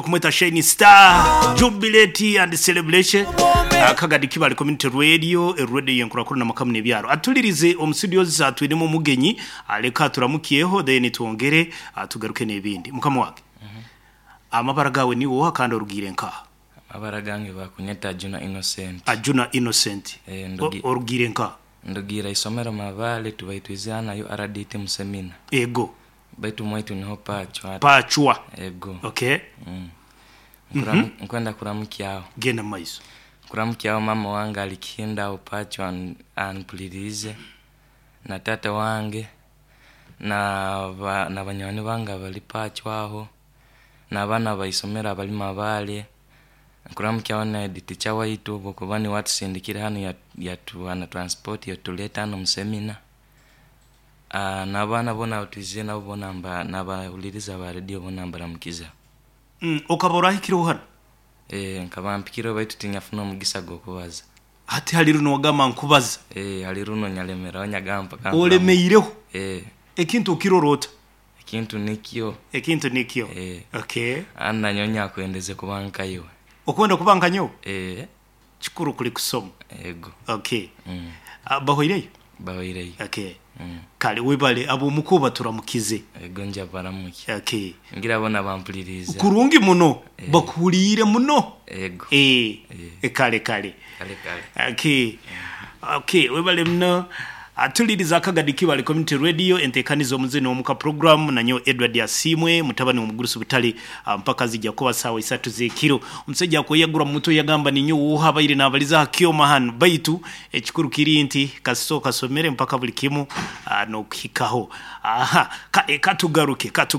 Okumweta Shine Star Jubilate and Celebration Akagadi Kibale Community Radio radio yenkurakurana amaka n'ebyaro atulirize omu studios atwinemu omugenyi aleka aturamukyeho then twongere tugaruke n'ebindi mukama wange amabara gawe niwe oha kandi orugiire nkaha? Amabara gange bakunyeta Ajuna Innocent. Ajuna Innocent orugiire nkaha? Ndugiire isomero Mabale tubaitwize hanu aha URDT mu semina. Ego. Baitu mwaitu niho Pacwa. Pacwa. Ego. Okay. Nkwenda kuramukyaho. Genda mumaiso. Nkuramukyaho mama wange ali Kihinda aho Pacwa ampuliriize na taata wange na banywani bange abali Pacwa aho n'abaana ba isomero abali Mabale. Nkuramukyaho na head teacher waitu habwokuba niwe atusindikire hanu yatuha na transport yatuleta hanu omu semina. N'abaana boona abu twizire nabo boona n'abahuririza ba rediyo boona mbaramukiza. Okaba orahikireho hanu? Ee, nkaba mpikireho baitu tinyafuna omugisa gw'okubaza. Hati hali runo wagamba nkubaza? Ee, hali runo nyalemeraho nyagamba mpaka Olemeireho? Ee. Ekintu okirora ota? Ekintu nikyo. Ekintu nikyo? Ee. Okay. Kandi nanyowe nyakwendeze kuba nka iwe. Okwenda kuba nka nyowe? Ee. Kikuru kuli kusoma. Ego. Okay. Bahoireyo? Bahoireyo. Okay. Kale webale ab'omuka obaturamukize. Ego nja baramukya. Okay. Ngira bona bampuliriize. Kurungi muno. Bakuhuliire muno. Ego. Ee. Kale kale. Kale kale. Okay. Okay, webale muno. Atuliriza Akagadi Kibale Community Radio entekaniza omuzini omuka program nanyowe Edward Asiimwe mutabani w'omugurusi Butale mpaka zija kuba saawa isatu z'ekiro. Omusaija akweyagura mu mutwe yagamba ninyowe oha abaire nabaliza aha kyoma hanu baitu ekikuru kiri nti kasita okasomere mpaka buli kimu nokuhikaho. Aha kale katugaruke katu.